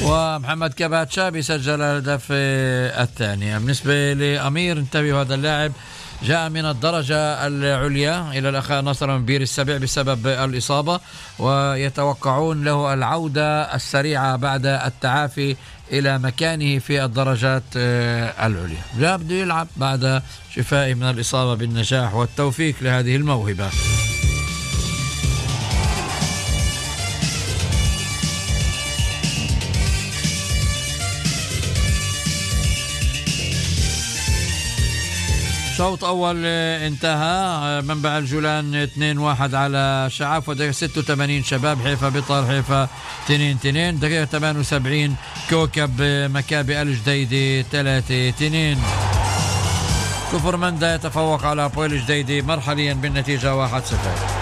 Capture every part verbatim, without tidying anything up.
ومحمد كباتشا بيسجل الهدف الثاني. بالنسبة لأمير، انتبهوا، هذا اللاعب جاء من الدرجة العليا إلى الأخاء نصر من بير السبع بسبب الإصابة، ويتوقعون له العودة السريعة بعد التعافي إلى مكانه في الدرجات العليا. جاء بده يلعب بعد شفائه من الإصابة بالنجاح والتوفيق لهذه الموهبة. شوط أول انتهى، منبع الجولان اثنين واحد على شعاف، ودقيقة ستة وثمانين شباب حيفا بطل حيفا اثنين اثنين، دقيقة ثمانية وسبعين كوكب مكابي الجديدي ثلاثة اثنين. كفر مندا يتفوق على أبويل الجديدي مرحليا بالنتيجة واحد صفر.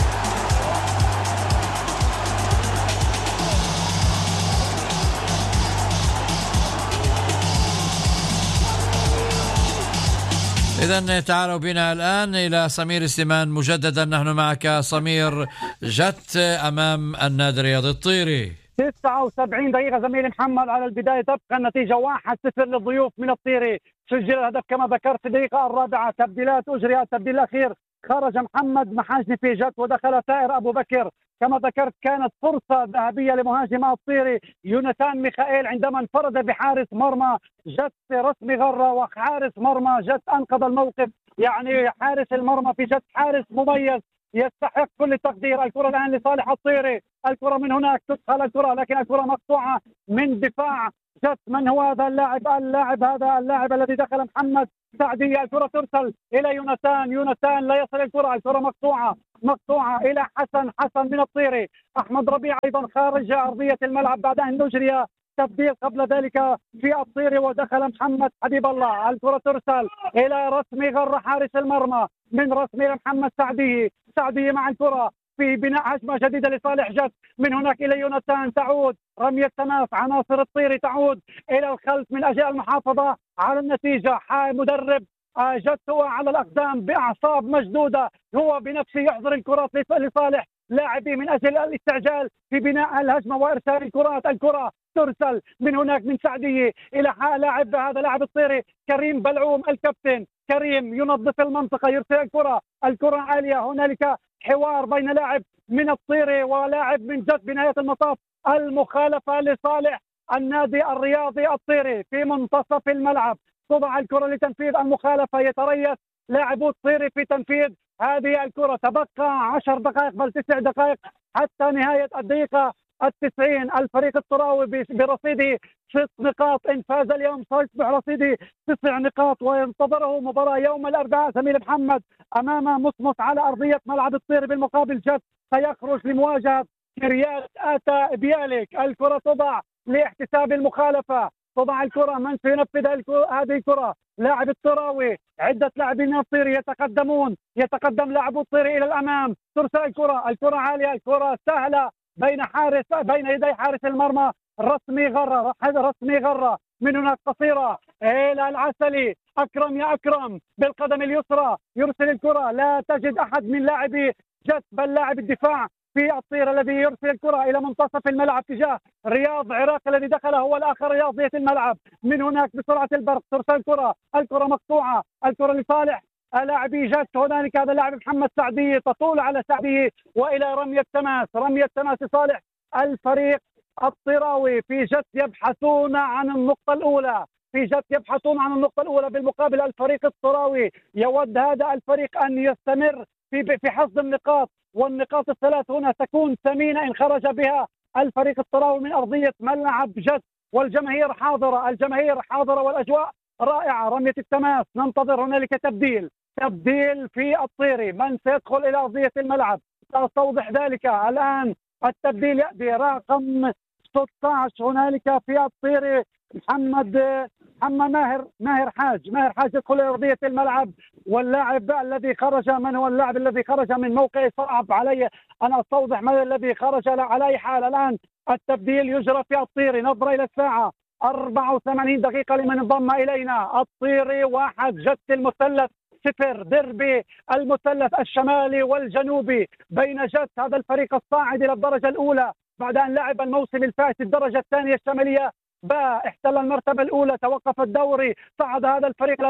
إذن تعالوا بنا الآن إلى سمير سليمان مجددا. نحن معك سمير. جت أمام النادي الرياضي الطيري. تسعة وسبعين دقيقة زميلي محمد على البداية، تبقى النتيجة واحد صفر للضيوف من الطيري. سجل الهدف كما ذكرت في الدقيقة الرابعة. تبديلات أجريت، التبديل الأخير خرج محمد محاجني في جت ودخل ثائر أبو بكر. كما ذكرت كانت فرصة ذهبية لمهاجم الطيري يوناتان ميخائيل عندما انفرد بحارس مرمى جت رسمي غرة، وحارس مرمى جت أنقذ الموقف. يعني حارس المرمى في جت حارس مميز يستحق كل التقدير. الكرة الآن لصالح الطيري، الكرة من هناك تدخل الكرة، لكن الكرة مقطوعة من دفاع جت. من هو هذا اللاعب؟ اللاعب هذا اللاعب الذي دخل محمد سعدية. الكرة ترسل إلى يوناتان، يوناتان لا يصل الكرة، الكرة مقطوعة مقطوعة إلى حسن، حسن من الطيري. أحمد ربيع أيضا خارج أرضية الملعب بعد أن نجري تبديل قبل ذلك في الطيري ودخل محمد حبيب الله. الكرة ترسل إلى رسمي غر حارس المرمى، من رسمي لمحمد سعدي، سعدي مع الكرة في بناء هجمة جديدة لصالح جد. من هناك إلى يوناتان، تعود رمية تماس عناصر الطيري، تعود إلى الخلف من أجل المحافظة على النتيجة. مدرب جد هو على الأقدام بأعصاب مشدودة، هو بنفسه يحضر الكرات لصالح لاعبي من أجل الاستعجال في بناء الهجمة وإرسال الكرات. الكرة ترسل من هناك من سعدية إلى لاعب هذا لاعب الطيري كريم بلعوم الكابتن. كريم ينظف المنطقة، يرسل الكرة، الكرة عالية. هنالك حوار بين لاعب من الطيري ولاعب من جد. بنهاية المطاف المخالفة لصالح النادي الرياضي الطيري في منتصف الملعب. تضع الكرة لتنفيذ المخالفة، يتريث لاعبو الطيري في تنفيذ هذه الكرة. تبقى عشر دقائق بل تسع دقائق حتى نهاية الدقيقة التسعين. الفريق الطراوي برصيده ست نقاط، إن فاز اليوم سيصبح رصيده تسع نقاط، وينتظره مباراة يوم الأربعاء زميل محمد أمام مصمت على أرضية ملعب الطيري. بالمقابل جد سيخرج لمواجهة كريات آتا بياليك. الكرة تضع لاحتساب المخالفة، تضع الكرة، من سينفذ هذه الكرة؟ لاعب الطراوي. عدة لاعبين من الطيري يتقدمون، يتقدم لاعب الطيري إلى الأمام. ترسل الكرة، الكرة عالية، الكرة سهلة بين حارس بين يدي حارس المرمى رسمي غرة. رسمي غرة من هناك قصيرة إلى العسلي. أكرم يا أكرم بالقدم اليسرى يرسل الكرة، لا تجد أحد من لاعبي جت بل لاعب الدفاع في الطير الذي يرسل الكرة إلى منتصف الملعب تجاه رياض عراق الذي دخل هو الآخر رياضية الملعب. من هناك بسرعة البرق ترسل الكرة، الكرة مقطوعة، الكرة لصالح لاعبي جت. هنالك هذا اللاعب محمد سعدي، تطول على سعدي وإلى رمية تماس، رمية تماس لصالح الفريق الطراوي. في جت يبحثون عن النقطة الأولى، في جت يبحثون عن النقطة الأولى. بالمقابل الفريق الطراوي يود هذا الفريق أن يستمر في في حصد النقاط، والنقاط الثلاث هنا تكون ثمينة إن خرج بها الفريق الطراوي من أرضية ملعب جد. والجماهير حاضرة، الجماهير حاضرة والأجواء رائعة. رمية التماس، ننتظر هنالك تبديل، تبديل في الطيري. من سيدخل إلى أرضية الملعب؟ سأستوضح ذلك الآن. التبديل يأتي رقم ستة عشر هنالك في الطيري، محمد محمد ماهر ماهر حاج ماهر حاج يدخل إلى أرضية الملعب. واللاعب الذي خرج، من هو اللاعب الذي خرج من موقع؟ صعب علي أن أستوضح من الذي خرج. على أي حال الآن التبديل يجرى في الطيري. نظرة إلى الساعة، أربعة وثمانين دقيقة لمن انضم إلينا. الطيري واحد، جت المثلث صفر. ديربي المثلث الشمالي والجنوبي بين جت هذا الفريق الصاعد إلى الدرجة الأولى بعد أن لعب الموسم الفائت الدرجة الثانية الشمالية باء احتل المرتبة الأولى، توقف الدوري، صعد هذا الفريق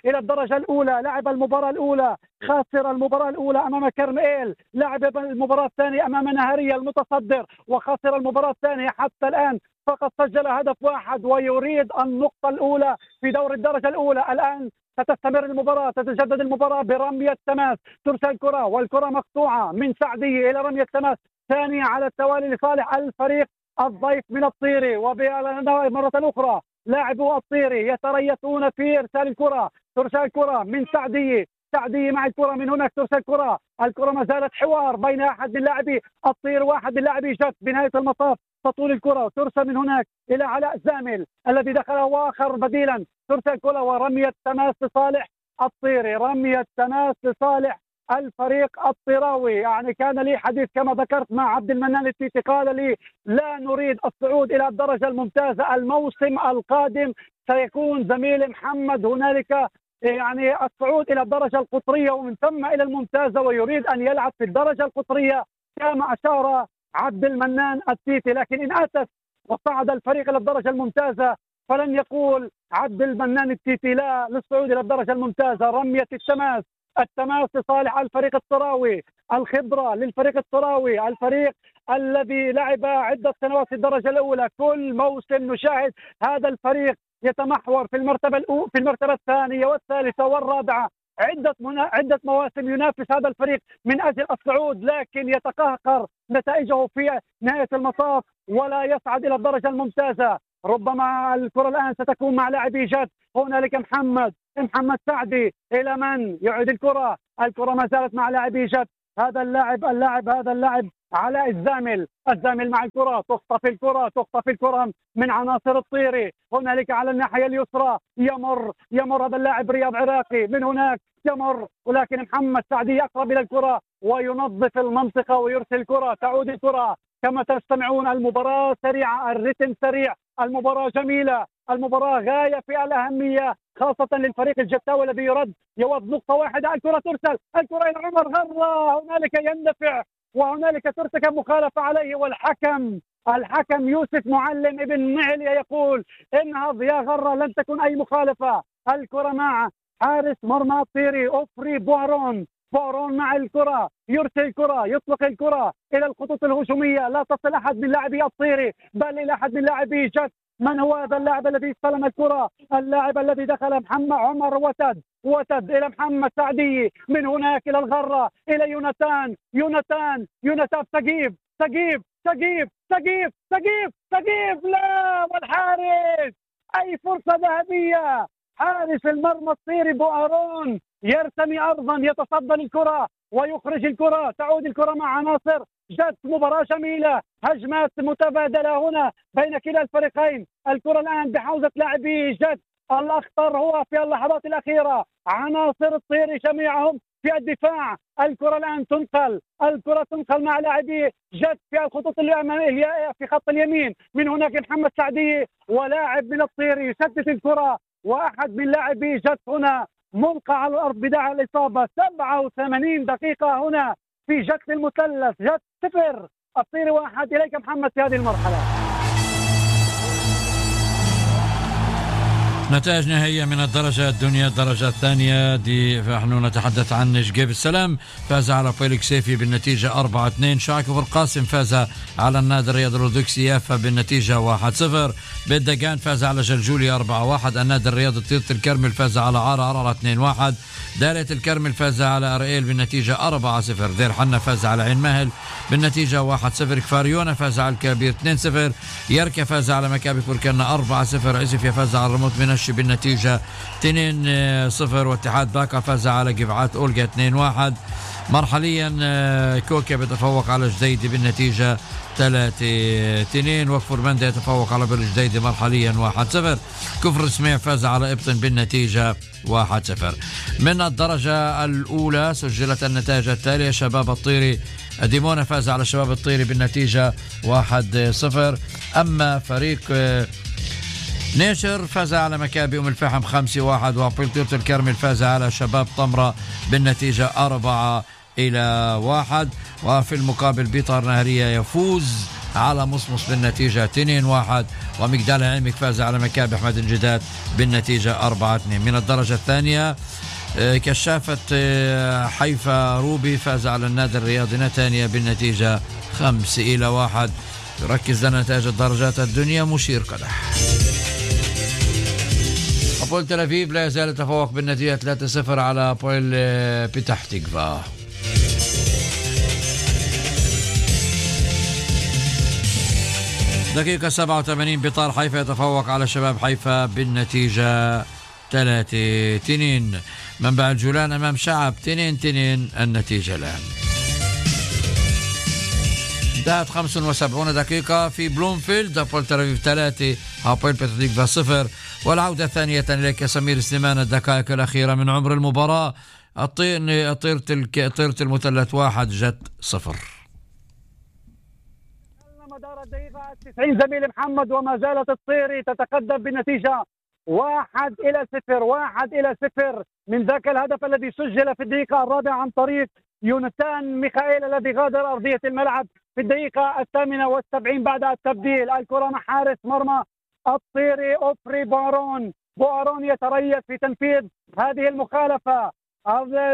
إلى الدرجة الأولى، لعب المباراة الأولى، خسر المباراة الأولى أمام كرميل، لعب المباراة الثانية أمام نهارية المتصدر وخسر المباراة الثانية. حتى الآن فقط سجل هدف واحد ويريد النقطة الأولى في دور الدرجة الأولى. الآن ستستمر المباراة، تتجدد المباراة برمية تماس، ترسل كرة والكرة مقطوعة من سعدية إلى رمية تماس ثانية على التوالي لصالح الفريق الضيف من الطيري. ومرة أخرى لاعبو الطيري يتريثون في إرسال الكرة، ترسل كرة من سعدية، سعدية مع الكرة من هناك، ترسل كرة، الكرة ما زالت حوار بين أحد من لاعبي الطير واحد من لاعبي جت. بنهاية المطاف تطول الكرة وترسل من هناك إلى علاء زامل الذي دخل وآخر بديلا، ترسل كرة ورمية تماس لصالح الطيري، رمية تماس لصالح الفريق الطيراوي. يعني كان لي حديث كما ذكرت مع عبد المنان التيتي، قال لي لا نريد الصعود إلى الدرجة الممتازة الموسم القادم، سيكون زميل محمد هنالك يعني الصعود إلى الدرجة القطرية ومن ثم إلى الممتازة، ويريد أن يلعب في الدرجة القطرية كما أشار عبد المنان التيتي. لكن إن أتت وصعد الفريق إلى الدرجة الممتازة فلن يقول عبد المنان التيتي لا للصعود إلى الدرجة الممتازة. رمية التماس، التماس لصالح الفريق الطراوي، الخبرة للفريق الطراوي، الفريق الذي لعب عدة سنوات في الدرجة الأولى. كل موسم نشاهد هذا الفريق يتمحور في المرتبة الأولى، في المرتبة الثانية والثالثة والرابعة، عدة منا... عدة مواسم ينافس هذا الفريق من أجل الصعود، لكن يتقهقر نتائجه في نهاية المطاف ولا يصعد إلى الدرجة الممتازة. ربما الكرة الآن ستكون مع لاعبي جد، هنالك محمد محمد سعدي، إلى من يعيد الكرة؟ الكرة ما زالت مع لاعبي جد، هذا اللاعب اللاعب هذا اللاعب علاء الزامل، الزامل مع الكرة، تخطف الكرة تخطف الكرة من عناصر الطيري. هنالك على الناحية اليسرى يمر يمر هذا اللاعب رياض عراقي، من هناك يمر، ولكن محمد سعدي أقرب إلى الكرة وينظف المنطقة ويرسل الكرة، تعود الكرة كما تستمعون. المباراة سريعة، الرتم سريع، المباراة جميلة، المباراة غاية في الأهمية خاصة للفريق الجتاوي الذي يرد يود نقطة واحدة. الكرة ترسل، الكرة إلى عمر غرة، هنالك يندفع وهنالك ترتكب مخالفة عليه، والحكم الحكم يوسف معلم ابن معلية يقول انهض يا غرة، لن تكن أي مخالفة. الكرة مع حارس مرمى الطيري أوفري بوارون، بوارون مع الكرة، يرسل الكرة، يطلق الكرة إلى الخطوط الهجومية، لا تصل أحد من لاعبي الطيري بل إلى أحد من لاعبي جد. من هو هذا اللاعب الذي استلم الكرة؟ اللاعب الذي دخل محمد عمر وتد، وتد إلى محمد سعدي، من هناك إلى الغرة، إلى يوناتان، يوناتان يوناتان سقيف سقيف سقيف سقيف سقيف سقيف لا، والحارس أي فرصة ذهبية، حارس المرمى الطيري بوارون يرتمي أرضا، يتصدى الكرة ويخرج الكرة، تعود الكرة مع عناصر جد. مباراة جميلة، هجمات متبادلة هنا بين كلا الفريقين. الكرة الآن بحوزة لاعبي جد، الأخطر هو في اللحظات الأخيرة عناصر الطيري جميعهم في الدفاع. الكرة الآن تنقل، الكرة تنقل مع لاعبي جد في الخطوط الأمامية في خط اليمين، من هناك محمد سعدي ولاعب من الطيري يسدد الكرة، وأحد من لاعبي جد هنا ملقى على الأرض بداعي الإصابة. سبعة وثمانين دقيقة هنا في جد المثلث، جد صفر الطيري واحد. إليك محمد في هذه المرحلة. نتائج نهائية من الدرجة الدنيا، الدرجة الثانية دي نحن نتحدث عن شقيب السلام فاز على فيليكس سيفي بالنتيجة أربعة اثنين. شاكر القاسم فاز على النادي الرياضي الأورثوذكسي يافا بالنتيجة واحد صفر. بالدقان فاز على جلجولي أربعة واحد. النادي الرياضي طيرة الكرمل فاز على عرعر اثنين واحد. دالة الكرمل فاز على أرئيل بالنتيجة أربعة صفر. دير حنا فاز على عين ماهل بالنتيجة واحد صفر. كفاريونا فاز على الكبير اثنين صفر. يركا فاز على مكابي كوركنا أربعة صفر. عزفيا فاز على الرموت منشي بالنتيجة اثنين صفر. واتحاد باكا فاز على قفعات أولغا اثنين واحد. مرحليا كوكا بيتفوق على جديدي بالنتيجة ثلاثة اثنين. وكفر مندا يتفوق على بالجديدي مرحليا واحد صفر. كفر سميع فاز على إبطن بالنتيجة واحد صفر. من الدرجة الأولى سجلت النتائج التالية: شباب الطيري ديمونا فاز على شباب الطيري بالنتيجة واحد صفر. أما فريق نيشر فاز على مكابي أم الفحم خمسة واحد. وبلطيرة الكرمل فاز على شباب طمرة بالنتيجة أربعة إلى واحد. وفي المقابل بيطار نهرية يفوز على مصمص بالنتيجة اثنين واحد، ومجدال العلمك فاز على مكابح أحمد الجداد بالنتيجة أربعة اثنين. من الدرجة الثانية كشافة حيفا روبي فاز على النادي الرياضي نتانيا بالنتيجة خمسة إلى واحد. يركز لنا نتائج الدرجات الدنيا. مشير قدح أبول تل أبيب لا يزال يتفوق بالنتيجة ثلاثة صفر على بويل بتح تقفا. دقيقة سبعة وثمانين بطار حيفا يتفوق على شباب حيفا بالنتيجة ثلاثة اثنين. منبع الجولان أمام شعب اثنين اثنين النتيجة الآن. انتهت خمسة وسبعين دقيقة في بلومفيلد. أبول تل أبيب ثلاثة هابويل بتح تقفا صفر. والعودة ثانية إليك سمير سليمان. الدقائق الأخيرة من عمر المباراة. طيرة المثلث واحد جت صفر. مدار الدقيقة تسعين زميل محمد، وما زالت الطيري تتقدم بالنتيجة واحد إلى صفر. واحد إلى صفر من ذاك الهدف الذي سجل في الدقيقة الرابعة عن طريق يونتان ميخائيل الذي غادر أرضية الملعب في الدقيقة الثامنة والسبعين بعد التبديل. الكرة مع حارس مرمى الطيري أوفري بارون. بارون يتريث في تنفيذ هذه المخالفة.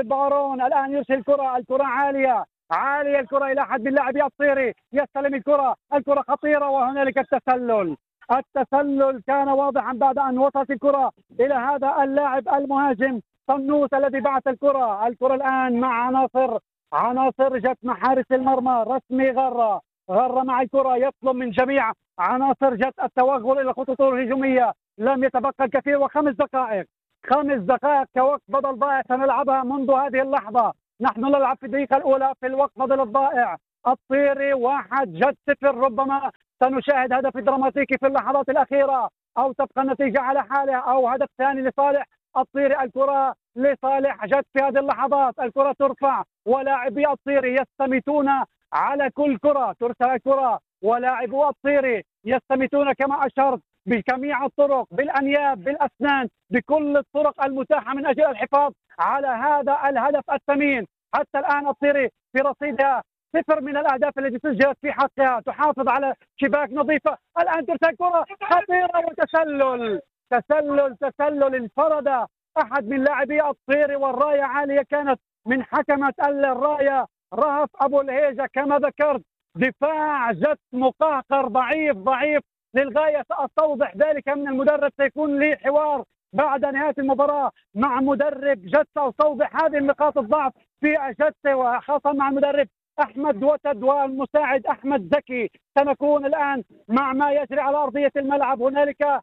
بارون الآن يرسل الكرة، الكرة عالية عالية الكرة إلى أحد من لاعبي الطيري، يستلم الكرة، الكرة خطيرة وهنالك التسلل. التسلل كان واضحا بعد أن وصلت الكرة إلى هذا اللاعب المهاجم طنوس الذي بعث الكرة. الكرة الآن مع عناصر عناصر جت مع حارس المرمى رسمي غرة. غرة مع الكرة يطلب من جميع عناصر جت التوغل إلى الخطوط الهجومية. لم يتبقى الكثير وخمس دقائق خمس دقائق كوقت بدل ضائع سنلعبها منذ هذه اللحظة. نحن نلعب في الدقيقة الأولى في الوقت بدل الضائع. الطيري واحد جد صفر. ربما سنشاهد هدف دراماتيكي في اللحظات الأخيرة، أو تبقى النتيجة على حالها، أو هدف ثاني لصالح الطيري. الكرة لصالح جد في هذه اللحظات. الكرة ترفع ولاعبي الطيري يستميتون على كل كرة ترسل الكرة، ولاعبو الطيري يستميتون كما أشرت بجميع الطرق، بالأنياب، بالأسنان، بكل الطرق المتاحة من أجل الحفاظ على هذا الهدف الثمين. حتى الآن الطيري في رصيدها صفر من الأهداف التي سجلت في حقها، تحافظ على شباك نظيفة. الآن ترسل كرة خطيرة وتسلل تسلل تسلل انفرد أحد من لاعبي الطيري، والراية عالية كانت من حكمة الراية رهف أبو الهيجة. كما ذكرت دفاع جت مقهقر ضعيف ضعيف للغاية. سأستوضح ذلك من المدرب، سيكون لي حوار بعد نهاية المباراة مع مدرب جد سأستوضح هذه النقاط الضعف في جد، وخاصة مع المدرب أحمد وتد والمساعد أحمد زكي. سنكون الآن مع ما يجري على أرضية الملعب. هنالك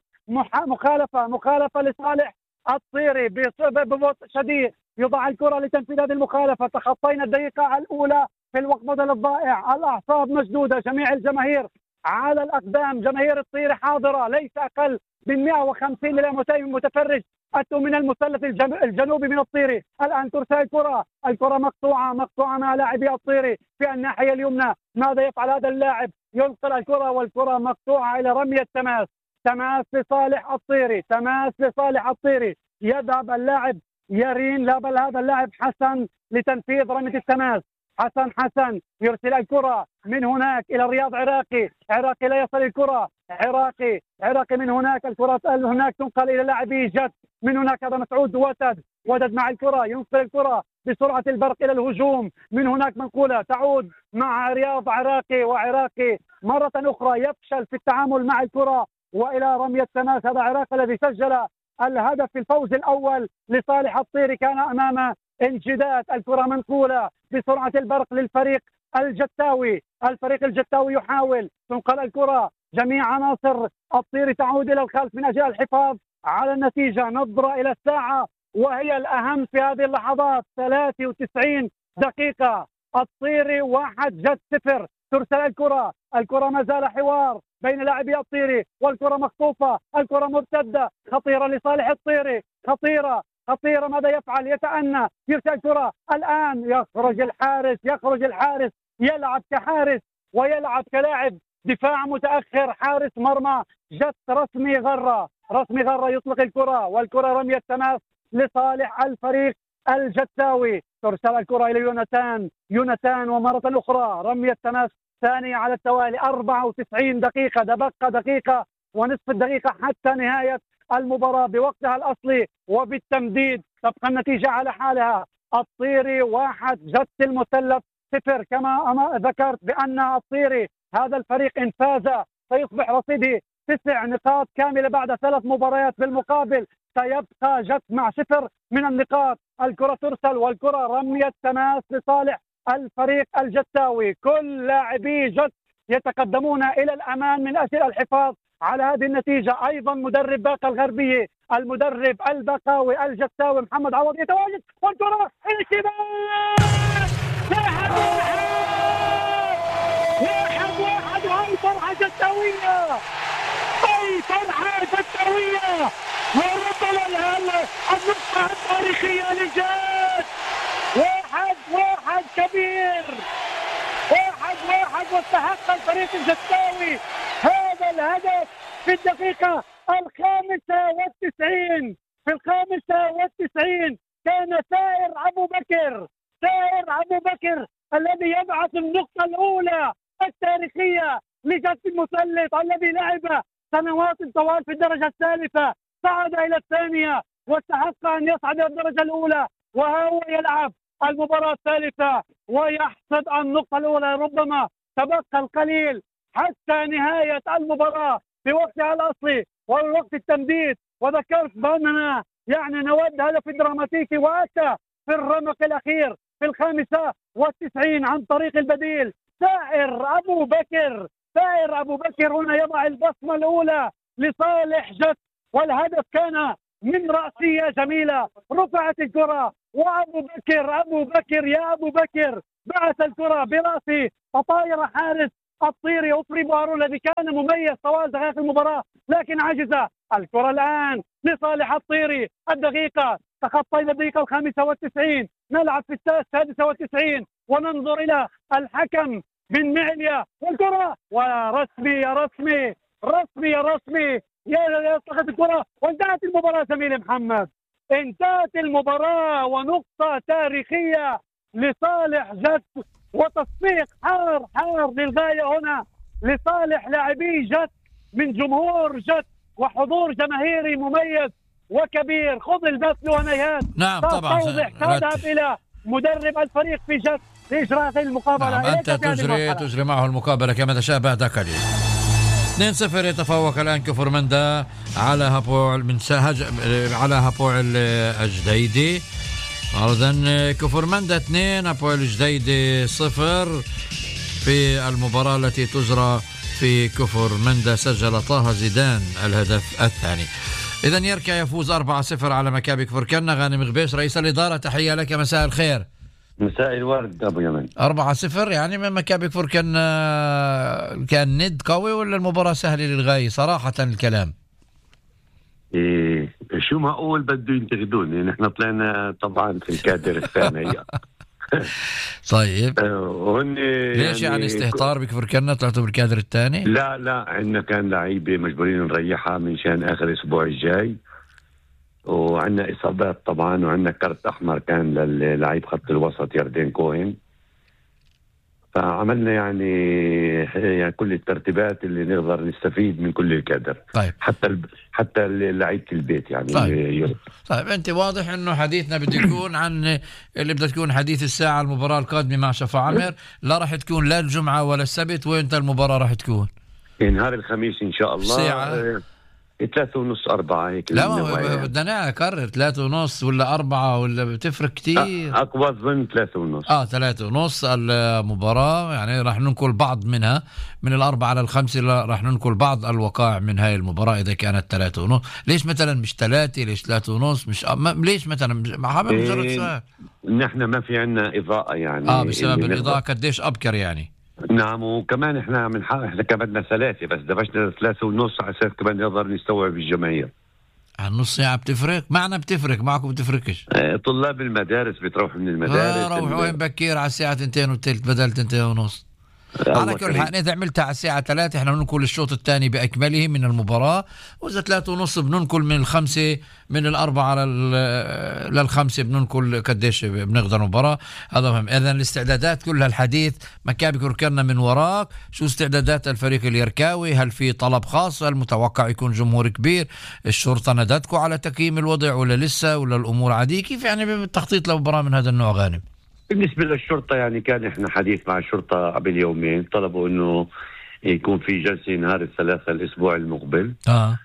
مخالفة مخالفة لصالح الطيري ببطء شديد. يضع الكرة لتنفيذ هذه المخالفة. تخطينا الدقيقة الأولى في الوقت بدل الضائع. الأعصاب مشدودة، جميع الجماهير على الأقدام. جماهير الطيري حاضرة، ليس أقل من مئة وخمسين إلى مئتين متفرج أتوا من المثلث الجنوبي من الطيري. الآن ترسل الكرة، الكرة مقطوعة مقطوعة مع لاعبي الطيري في الناحية اليمنى. ماذا يفعل هذا اللاعب؟ ينقل الكرة والكرة مقطوعة إلى رمية تماس. تماس لصالح الطيري، تماس لصالح الطيري. يذهب اللاعب يرين، لا بل هذا اللاعب حسن لتنفيذ رمية التماس. حسن حسن يرسل الكرة من هناك إلى رياض عراقي. عراقي لا يصل الكرة. عراقي عراقي من هناك، الكرة هناك تنقل إلى لاعبي جد. من هناك هذا مسعود وتد. وتد مع الكرة ينقل الكرة بسرعة البرق إلى الهجوم. من هناك منقولة تعود مع رياض عراقي، وعراقي مرة أخرى يفشل في التعامل مع الكرة وإلى رمية تماس. هذا عراقي الذي سجل الهدف في الفوز الأول لصالح الطيري كان أمام انجداد. الكرة منقولة بسرعة البرق للفريق الجتاوي. الفريق الجتاوي يحاول، تنقل الكرة، جميع عناصر الطيري تعود إلى الخلف من أجل الحفاظ على النتيجة. نظرة إلى الساعة وهي الأهم في هذه اللحظات. ثلاثة وتسعين دقيقة. الطيري واحد جد صفر. ترسل الكرة، الكرة ما زال حوار بين لاعبي الطيري، والكرة مخطوفة، الكرة مرتدة خطيرة لصالح الطيري. خطيرة خطيرة. ماذا يفعل؟ يتأنى، يرسل الكرة. الآن يخرج الحارس يخرج الحارس يلعب كحارس ويلعب كلاعب دفاع متأخر. حارس مرمى جت رسمي غرة. رسمي غرة يطلق الكرة، والكرة رمية تماس لصالح الفريق الجتاوي. ترسل الكرة إلى يونتان. يونتان ومرة أخرى رمية تماس الثانية على التوالي. أربعة وتسعين دقيقة، تبقى دقيقة ونصف الدقيقة حتى نهاية المباراة بوقتها الأصلي وبالتمديد. تبقى النتيجة على حالها، الطيري واحد، جت المثلث صفر. كما ذكرت بأن الطيري هذا الفريق إن فاز سيصبح رصيده تسع نقاط كاملة بعد ثلاث مباريات، بالمقابل سيبقى جت مع صفر من النقاط. الكرة ترسل والكرة رمية تماس لصالح الفريق الجتاوي. كل لاعبي جت يتقدمون إلى الأمام من أجل الحفاظ على هذه النتيجة. أيضا مدرب باقة الغربية، المدرب البقاوي الجتاوي محمد عوض يتواجد، والكرة الكبار واحد واحد واحد واحد وهي فرحة جتاوية، أي فرحة جتاوية، وربما النقطة التاريخية لجد. واحد واحد كبير، واحد واحد، واستحق الفريق الجتاوي هذا الهدف في الدقيقة الخامسة والتسعين. في الخامسة والتسعين كان سائر أبو بكر، سائر أبو بكر الذي يبعث النقطة الأولى التاريخية لجد المثلث الذي لعب سنوات طوال في الدرجة الثالثة، صعد إلى الثانية واستحق أن يصعد إلى الدرجة الأولى، وهو يلعب المباراة الثالثة ويحصد النقطة الأولى. ربما تبقى القليل حتى نهاية المباراة في وقتها الأصلي والوقت التمديد. وذكرت بأننا يعني نود هدف دراماتيكي، وأتى في الرمق الأخير في الخامسة والتسعين عن طريق البديل سائر أبو بكر. سائر أبو بكر هنا يضع البصمة الأولى لصالح جت، والهدف كان من رأسية جميلة، رفعت الكرة وأبو بكر أبو بكر يا أبو بكر بعث الكرة برأسه فطاير حارس الطيري أفري بوارو الذي كان مميز طوال دقائق المباراة لكن عجز. الكرة الآن لصالح الطيري، الدقيقة تخطى إلى الدقيقة الخامسة والتسعين، نلعب في السادسة والتسعين وننظر إلى الحكم بن معليا، والكرة ورسمي يا رسمي رسمي يا رسمي يا يصلحت الكرة، وانتهت المباراة. زميلي محمد، انتهت المباراة ونقطة تاريخية لصالح جت، وتصفيق حار حار للغاية هنا لصالح لاعبي جت من جمهور جت وحضور جماهيري مميز وكبير. خذ البث ونهايات. نعم طبعا تذهب إلى مدرب الفريق في جت لإجراء المقابلة. نعم أنت تجري تجري معه المقابلة كما تشاء بعد قليل. اثنين صفر يتفوق الآن كفر مندا على هابوع من سهج على هابوع الجديدي. أيضا كفر مندا اثنين هابوع الجديدي صفر في المباراة التي تجرى في كفر مندا. سجل طه زيدان الهدف الثاني. إذن يركع يفوز أربعة صفر على مكابي كفر كنا. غانم غبيش رئيس الإدارة، تحية لك، مساء الخير. مساء الورد أبو يمن. أربعة صفر يعني من مكابي كفر كان كان ند قوي ولا المباراة سهلة للغاية؟ صراحة الكلام إيه شو ما أقول بده ينتقدوني، نحن طلعنا طبعا في الكادر الثاني. طيب هن ليش يعني, يعني استهتار بكفر كنا طلعتوا بالكادر الثاني؟ لا لا عندنا كان لعيبة مجبورين نريحها من شان آخر الأسبوع الجاي، وعندنا إصابات طبعا، وعندنا كارت أحمر كان للعيب خط الوسط يردين كوهن. فعملنا يعني, يعني كل الترتيبات اللي نقدر نستفيد من كل الكادر. طيب حتى ال... حتى لعيبة البيت يعني. طيب. طيب أنت واضح إنه حديثنا بده يكون عن اللي بدها تكون حديث الساعة المباراة القادمة مع شفا عمر. لا راح تكون لا الجمعة ولا السبت، وإنت المباراة راح تكون نهار الخميس إن شاء الله ساعة ثلاثة ونص أربعة هيك. لا بدنا أكرر ثلاثة ونص ولا أربعة ولا بتفرق كتير. أقوى ظن ثلاثة ونص. آه ثلاثة ونص المباراة، يعني راح ننقل بعض منها من الأربعة على الخمسة، راح ننقل بعض الوقائع من هاي المباراة إذا كانت ثلاثة ونص. ليش مثلا مش ثلاثة؟ ليش ثلاثة ونص؟ مش م... ليش مثلا مش حابب مجرد سؤال. نحن ما في عنا إضاءة يعني. آه بسبب الإضاءة قديش أبكر يعني. نعم، وكمان احنا من حق احنا كمان ثلاثة بس دبشنا ثلاثة ونص على اساس كمان نقدر نستوعب الجماهير. على نص ساعة بتفرق؟ معنا بتفرق، معكم بتفرقش. اه طلاب المدارس بتروح من المدارس. اه روحوا وين بكير على الساعة تنتين وثلث بدل تنتين ونص. على كل حال إذا عملتها على الساعة ثلاثة إحنا بننقل الشوط الثاني بأكمله من المباراة، وإذا ثلاثة ونص بننقل من الخمسة من الأربعة للخمسة بننقل قديش بنقدر المباراة. هذا مهم. إذن الاستعدادات كلها الحديث مكابي كركرنا من وراك، شو استعدادات الفريق اليركاوي؟ هل في طلب خاص؟ هل متوقع يكون جمهور كبير؟ الشرطة ندتكم على تقييم الوضع ولا لسه، ولا الأمور عادية؟ كيف يعني بالتخطيط لمباراة من هذا النوع غانم؟ بالنسبة للشرطة يعني كان احنا حديث مع الشرطة قبل يومين، طلبوا انه يكون في جلسة نهار الثلاثاء الاسبوع المقبل. اه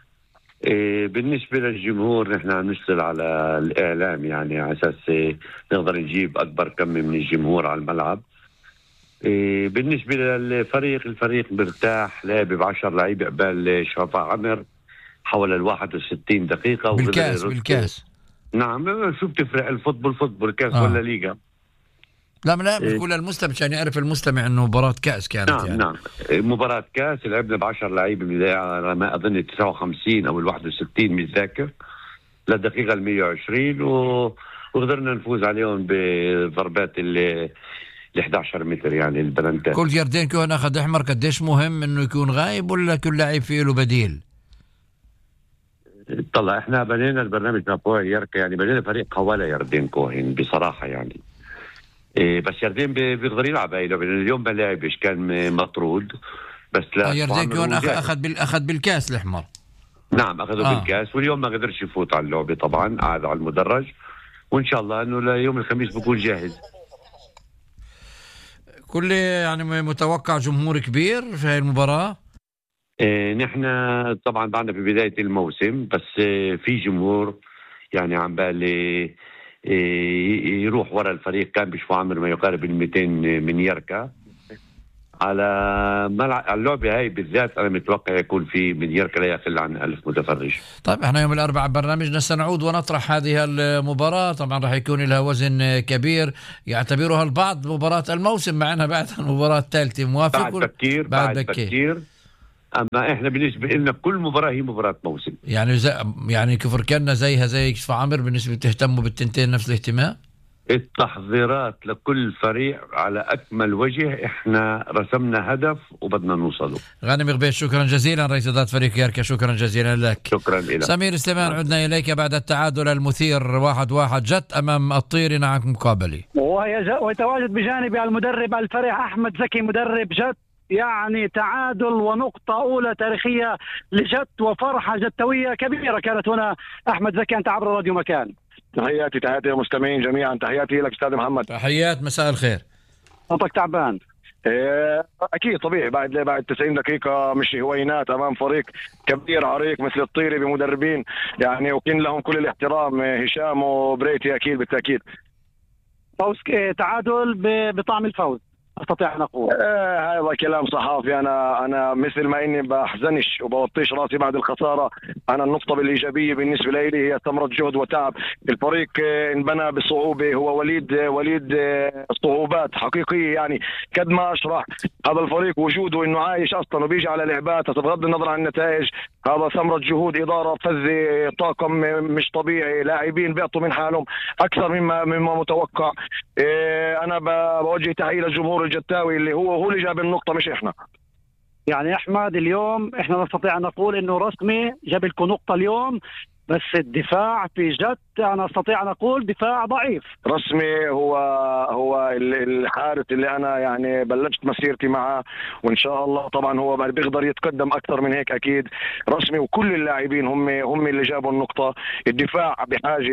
إيه بالنسبة للجمهور نحن عم نشتغل على الاعلام يعني على اساس إيه نقدر نجيب اكبر كم من الجمهور على الملعب. إيه بالنسبة للفريق، الفريق مرتاح، لعب بعشر لعيبة قبل شرفاء عمر حول الواحد وستين دقيقة بالكاس. بالكاس نعم. شو بتفرق الفوتبول فوتبول كاس آه. ولا ليغا؟ لا لا بقول للمستمع عشان يعرف المستمع انه مباراة كأس كانت. نعم يعني نعم مباراة كأس لعبنا بعشر لعيبة على ما أظن تسعة وخمسين أو الواحد وستين مش ذاكر للدقيقة المية وعشرين و... وقدرنا نفوز عليهم بضربات ال إحدى عشر متر يعني البلنتات. كل جاردين كون أخذ أحمر قديش مهم إنه يكون غايب ولا كل لاعب فيه له بديل؟ طلع احنا بنينا البرنامج مع يركا يعني بنينا فريق قوالة يردين كوهن بصراحة يعني إيه بس يردين بيقدر يلعب هاي لعبة. اليوم ما لعبش كان مطرود بس لا. يردين كون أخذ بال أخذ بالكاس الأحمر. نعم أخذوا آه. بالكاس، واليوم ما قدرش يفوت على اللعبة طبعا، قاعد على المدرج، وإن شاء الله إنه ليوم الخميس بكون جاهز. كل يعني متوقع جمهور كبير في هاي المباراة. إيه نحن طبعا بعدنا في بداية الموسم بس إيه في جمهور يعني عم بالي إيه يروح وراء الفريق. كان بشفوا عمر ما يقارب المئتين من يركا على ملعب اللعبة هاي بالذات. أنا متوقع يكون في من يركا لا يقل عن ألف متفرج. طيب احنا يوم الأربعاء برنامجنا سنعود ونطرح هذه المباراة. طبعا راح يكون لها وزن كبير يعتبرها البعض مباراة الموسم مع أنها بعد المباراة الثالثة. موافق؟ بعد بكير بعد, بعد بكير. بكير أما إحنا بالنسبة لنا كل مباراة هي مباراة موسم. يعني زي يعني كفر كنا زيها زي كشف عمر بالنسبة تهتموا بالتنتين نفس الاهتمام؟ التحضيرات لكل فريق على أكمل وجه. إحنا رسمنا هدف وبدنا نوصله. غانم غبيش شكرا جزيلا رئيس إدارة فريق يركا، شكرا جزيلا لك. شكرا لك سمير سليمان. آه. عدنا إليك بعد التعادل المثير واحد واحد جت أمام الطيري مع مقابلة، ويتواجد بجانبي المدرب الفريق أحمد زكي مدرب جت. يعني تعادل ونقطة أولى تاريخية لجت وفرحة جتوية كبيرة كانت هنا. أحمد زكي أنت عبر راديو مكان. تحياتي تحياتي للمستمعين جميعا، تحياتي لك أستاذ محمد. تحيات، مساء الخير. صوتك تعبان. أكيد طبيعي بعد بعد تسعين دقيقة مش هوينات أمام فريق كبير عريق مثل الطيري بمدربين يعني وكن لهم كل الاحترام، هشام وبريتي أكيد بالتأكيد. فوز تعادل بطعم الفوز استطيع ان اقول. آه هذا كلام صحافي. انا انا مثل ما اني بحزنش وبوطيش راسي بعد الخساره. انا النقطه بالايجابيه بالنسبه لي هي ثمره جهد وتعب. الفريق آه انبنى بصعوبه، هو وليد آه وليد آه صعوبات حقيقيه يعني قد ما اشرح. هذا الفريق وجوده انه عايش اصلا وبيجي على لعبات بغض النظر عن النتائج. هذا ثمره جهود اداره فذه، طاقم مش طبيعي، لاعبين بيعطوا من حالهم اكثر مما مما متوقع. آه انا بوجه تحيه للجمهور الجتاوي اللي هو هو اللي جاب النقطة مش إحنا. يعني أحمد اليوم إحنا نستطيع أن نقول إنه رسمي جاب لكم نقطة اليوم، بس الدفاع في جد أنا أستطيع أن أقول دفاع ضعيف. رسمي هو هو الحارس اللي أنا يعني بلشت مسيرتي معه، وإن شاء الله طبعا هو بيقدر يتقدم أكثر من هيك أكيد. رسمي وكل اللاعبين هم هم اللي جابوا النقطة. الدفاع بحاجة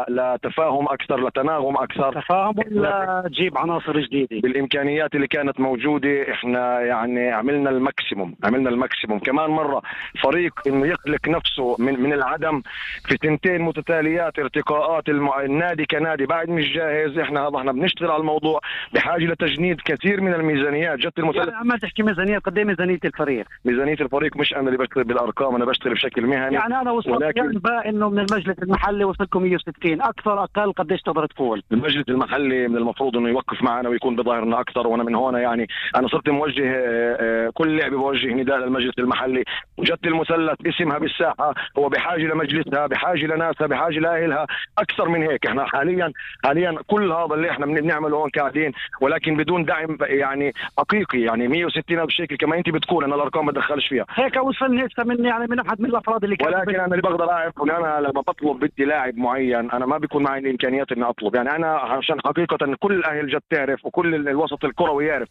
لتفاهم أكثر، لتناغم أكثر، تفاهم ولا تجيب عناصر جديدة. بالإمكانيات اللي كانت موجودة إحنا يعني عملنا الماكسيموم عملنا الماكسيموم. كمان مرة فريق إنه يخلق نفسه من من العدم في سنتين متتاليات ارتقاءات المع... النادي كنادي بعد مش جاهز. احنا هذا احنا بنشتغل على الموضوع بحاجه لتجنيد كثير من الميزانيات. جت المثلث يعني عم تحكي ميزانيه قد ايه؟ ميزانيه الفريق ميزانيه الفريق مش انا اللي بشتغل بالارقام، انا بشتغل بشكل مهني. يعني انا وصلت ولكن... بقى انه من المجلس المحلي وصلكم مية وستين اكثر اقل قديش تقدر تقول؟ المجلس المحلي من المفروض انه يوقف معنا ويكون بظاهرنا اكثر، وانا من هون يعني انا صرت موجه كل لعبه بوجه نداء للمجلس المحلي. وجت المثلث اسمها بالساحه، هو بحاجه لمجلسها، بحاجه لناسها، بحاجه لاهلها نعملها اكثر من هيك. احنا حاليا حاليا كل هذا اللي احنا بنعمله هون قاعدين، ولكن بدون دعم يعني حقيقي. يعني مية وستين ألف شيكل كما انت بتقول، انا الارقام ما بدخلش فيها هيك وصلني هسه من يعني من احد من الافراد اللي كانوا ولكن انا اللي بقدر اعرف ان انا لما بطلب بدي لاعب معين انا ما بيكون معي الامكانيات اني اطلب. يعني انا عشان حقيقه كل اهل جد تعرف وكل الوسط الكروي يعرف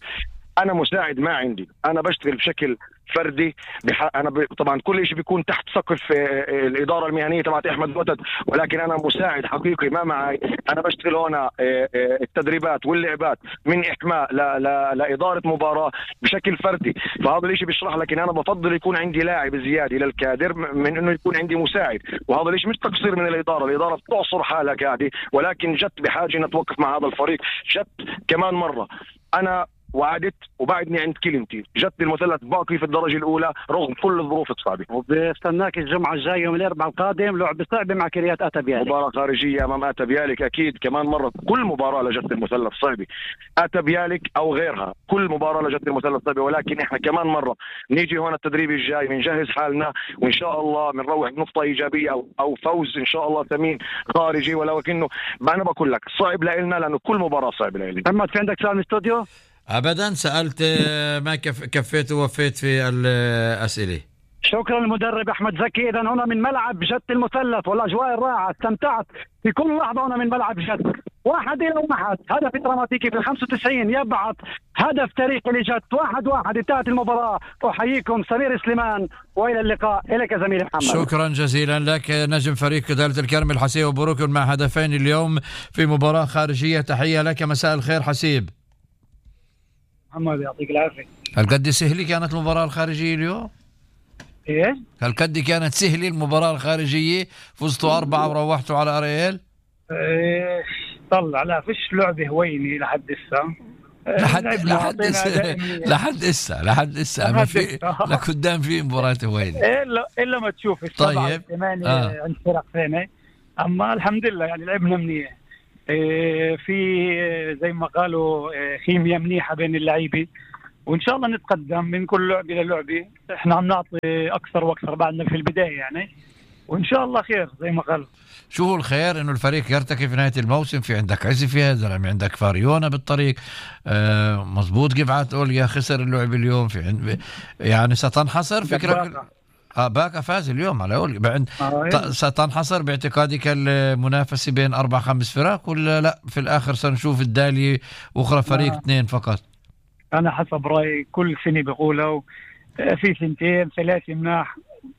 انا مساعد ما عندي، انا بشتغل بشكل فردي بح... انا ب... طبعا كل شيء بيكون تحت سقف الاداره المهنيه تبعت احمد وتد، ولكن انا مساعد حقيقي ما معي. انا بشتغل هنا التدريبات واللعبات من احماء ل... ل... لاداره مباراه بشكل فردي. فهذا الشيء بيشرح لك ان انا بفضل يكون عندي لاعب زياده للكادر من انه يكون عندي مساعد. وهذا الشيء مش تقصير من الاداره، الاداره بتعصر حالها قاعده، ولكن جت بحاجه انها توقف مع هذا الفريق. جت كمان مره انا وعدت وبعدني عند كلمتي، جت المثلث باقي في الدرجه الاولى رغم كل الظروف الصعبه. وبستناك الجمعه الجايه يوم الاربعاء القادم لعبه صعبه مع كريات اتا بيالك، مباراه خارجيه امام اتا بيالك. اكيد كمان مره كل مباراه لجت المثلث صعبه، اتا بيالك او غيرها كل مباراه لجت المثلث صعبه. ولكن احنا كمان مره نيجي هون التدريب الجاي بنجهز حالنا وان شاء الله بنروح بنقطه ايجابيه او او فوز ان شاء الله ثمين خارجي. ولكنه انا بقول لك صعب لنا لانه كل مباراه صعبه لنا. محمد في عندك سؤال من الاستوديو؟ ابدا سالت ما كف كفيت ووفيت في الاسئله. شكرا للمدرب احمد زكي. اذا هنا من ملعب جد المثلث والاجواء الرائعه، استمتعت في كل لحظه هنا من ملعب جد. واحد الى واحد، هدف دراماتيكي في الخمسة وتسعين يبعث هدف تاريخي لجد. واحد واحد انتهت المباراه. احييكم سمير سليمان والى اللقاء. اليك يا زميلي محمد. شكرا جزيلا لك نجم فريق دالة الكرم الحسيب وبروكن مع هدفين اليوم في مباراه خارجيه. تحيه لك، مساء الخير حسيب. محمد يعطيك العافيه. هل قد سهلة كانت المباراة الخارجية اليوم؟ ايش؟ هل قد كانت سهلة المباراة الخارجية؟ فزتوا أربعة وروحتوا على أريال؟ ايه طلع لا فيش لعبة هويني لحد هسه. لحد لحد هسه لحد هسه لحد هسه ما في لقدام في مباراة هويني الا الا ما تشوف السبعة طيب الثمانية آه. عند فرق ثانية. اما الحمد لله يعني لعبنا منيح. في زي ما قالوا خيمياء منيحة بين اللعيبة، وإن شاء الله نتقدم من كل لعبة للعبة. إحنا عم نعطي أكثر وأكثر بعدنا في البداية يعني، وإن شاء الله خير زي ما قالوا. شو هو الخير؟ إنه الفريق يرتقي في نهاية الموسم. في عندك عزفة زلمة، عندك فاريونا بالطريق آه مزبوط. قفعت أوليا خسر اللعب اليوم في عند يعني ستنحصر فكرة. اه باكا فاز اليوم على اول بعد آه ستنحصر باعتقادك المنافسه بين اربع خمس فرق ولا لا في الاخر سنشوف الدالي واخرى فريق آه. اثنين فقط؟ انا حسب رايي كل سنه بقولوا في سنتين ثلاثه مناح،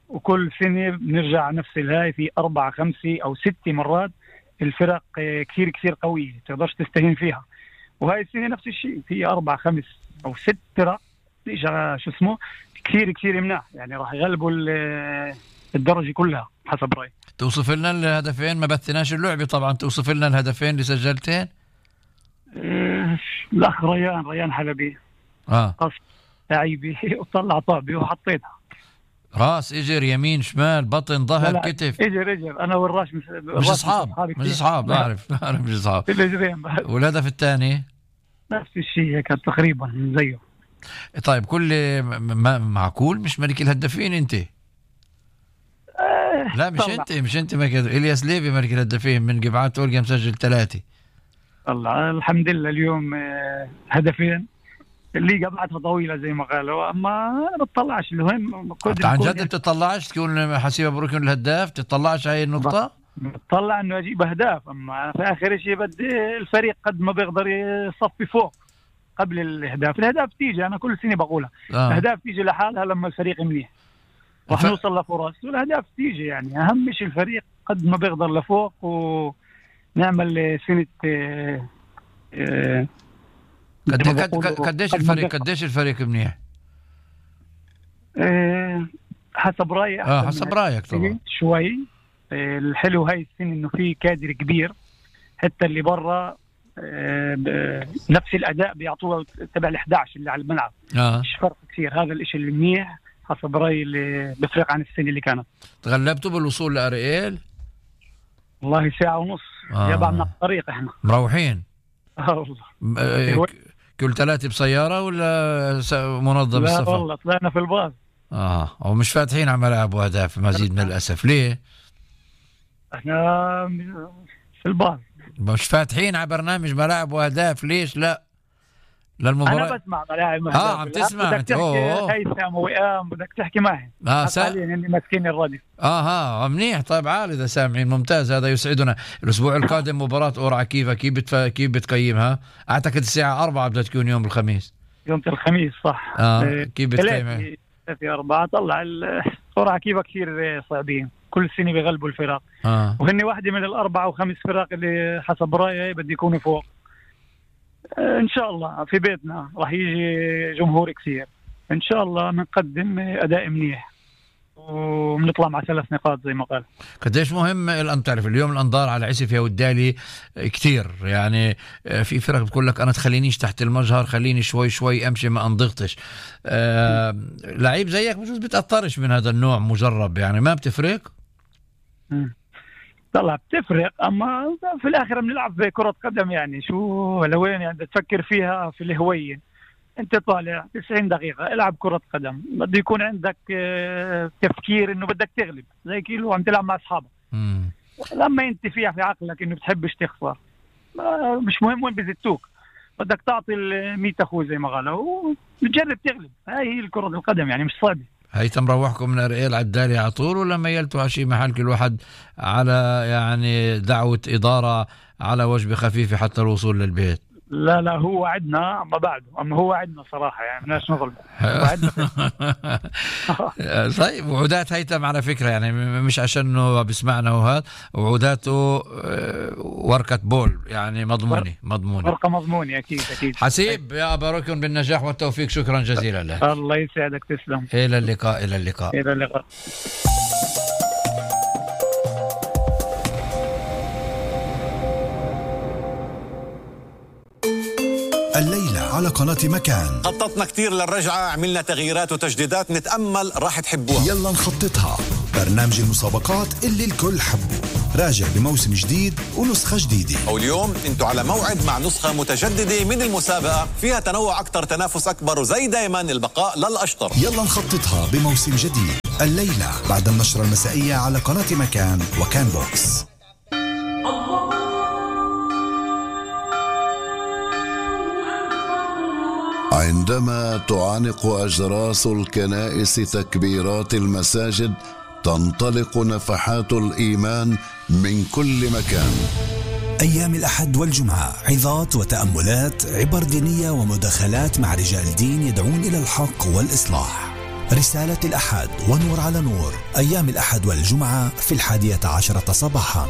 وكل سنه بنرجع نفس الهاي في اربع خمسه او ست مرات الفرق كثير كثير قويه تقدرش تستهين فيها. وهاي السنه نفس الشيء في اربع خمس او ست فرق شو اسمه كثير كثير مناح، يعني راح يغلبوا الدرجة كلها حسب رأيي. توصف لنا الهدفين، ما بثناش اللعبة طبعا، توصف لنا الهدفين اللي سجلتين. اه الأخ ريان ريان حلبي اه قص لعيبي وطلع طابي وحطيتها راس اجر يمين شمال بطن ظهر كتف. اجر اجر انا والراش مش مش اصحاب مش اصحاب بعرف بعرف مش اصحاب. الاجرين والهدف الثاني نفس الشيء كان تقريبا زيه. طيب كل ما معقول مش ملك الهدافين انت؟ أه لا مش طلع. انت مش انت ملك. الياس ليفي ملك الهدافين من قبعات اولجا مسجل ثلاثه. الله الحمد لله اليوم هدفين اللي قبعتها طويله زي ما قالوا. اما انا بتطلعش المهم عن جد بتطلعش تكون حسيبه بروكن الهداف؟ تطلعش هاي النقطه؟ بتطلع انه اجيب اهداف، اما في اخر شيء بدي الفريق قد ما بيقدر يصفي فوق قبل الاهداف. الاهداف تيجي انا كل سنه بقولها آه. الاهداف تيجي لحالها لما الفريق منيح راح ف... نوصل لفرص، والاهداف تيجي يعني اهم شيء الفريق قد ما بيقدر لفوق ونعمل سنه آه آه قد قديش الفريق قديش الفريق منيح؟ آه حسب رايي اه حسب رايك طبعا شوي. آه الحلو هاي السنه انه في كادر كبير، حتى اللي برا نفس الاداء بيعطوه تبع ال إحدى عشر اللي على الملعب آه. مش فرق كثير. هذا الاشي اللي منيح حسب رايي اللي بفرق عن السنه اللي كانت. تغلبتوا بالوصول لأريال؟ والله ساعه ونص آه. يابعنا الطريق احنا مروحين اه والله. كل ثلاثه بسياره ولا منظم لا السفر؟ لا والله طلعنا في الباص. اه ومش فاتحين على ملاعب واهداف مزيد من الاسف. ليه؟ احنا في البار. مش فاتحين على برنامج ملاعب واهداف ليش لا للمباراة؟ انا بسمع ملاعب اه عم تسمع بدك انت. تحكي اوه هيثم وإيام بدك تحكي معي. اه سا... حاليا اني ماسكين الراديو. اه ها منيح. طيب عال اذا سامعين ممتاز، هذا يسعدنا. الاسبوع القادم مباراة قرعة كيف كيف بتف... كيف بتقيمها؟ اعتقد الساعة أربعة بدها تكون يوم الخميس. يوم الخميس صح. اه كيف بتقيمها؟ في أربعة طلع القرعة كيف كثير صعبين، كل سنة بيغلبوا الفرق. اه وهني واحدة من الأربعة وخمس فرق اللي حسب رأيي بدي يكونوا فوق. ان شاء الله في بيتنا راح يجي جمهور كثير، ان شاء الله بنقدم اداء منيح وبنطلع مع ثلاث نقاط زي ما قال. قديش مهم الان تعرف اليوم الانظار على عسفية والدالي كتير، يعني في فرق بتقول لك انا تخلينيش تحت المجهر، خليني شوي شوي امشي ما انضغطش. آه لعيب زيك بجوز بتأثرش من هذا النوع، مجرب يعني ما بتفرق. م. طلع بتفرق، اما في الاخر بنلعب كرة قدم يعني شو لوين يعني تفكر فيها في الهوية. انت طالع تسعين دقيقة العب كرة قدم، بده يكون عندك تفكير انه بدك تغلب زي كيلو عم تلعب مع اصحابك. لما انت فيها في عقلك انه بتحبش تخسر مش مهم وين بزتوك، بدك تعطي المية اخوه زي ما قالوا وتجرب تغلب. هاي هي الكرة القدم يعني مش صعبة. هيثم روحكم من ارئيل على الدالي على طول ولا ميلتوا على شيء محل كل واحد على يعني دعوة إدارة على وجبة خفيفة حتى الوصول للبيت؟ لا لا هو وعدنا اما بعده، اما هو وعدنا صراحة يعني مناش نظلم. طيب وعودات هيثم على فكرة يعني مش عشانه بسمعنا وهذا، وعوداته ورقة بول يعني مضمونة مضمونة ورقة مضمونة أكيد أكيد. حسيب يا أبا ركن بالنجاح والتوفيق، شكرا جزيلا لك. الله يسعدك تسلم. إلى اللقاء إلى اللقاء إلى اللقاء. الليلة على قناة مكان خططنا كتير للرجعة، عملنا تغييرات وتجديدات نتأمل راح تحبوها. يلا نخططها، برنامج المسابقات اللي الكل حبه، راجع بموسم جديد ونسخة جديدة. واليوم انتوا على موعد مع نسخة متجددة من المسابقة فيها تنوع أكتر، تنافس أكبر، وزي دايما البقاء للأشطر. يلا نخططها بموسم جديد الليلة بعد النشرة المسائية على قناة مكان وكان بوكس. عندما تعانق أجراس الكنائس تكبيرات المساجد تنطلق نفحات الإيمان من كل مكان. أيام الأحد والجمعة عظات وتأملات، عبر دينية ومداخلات مع رجال دين يدعون إلى الحق والإصلاح. رسالة الأحد ونور على نور، أيام الأحد والجمعة في الحادية عشرة صباحا.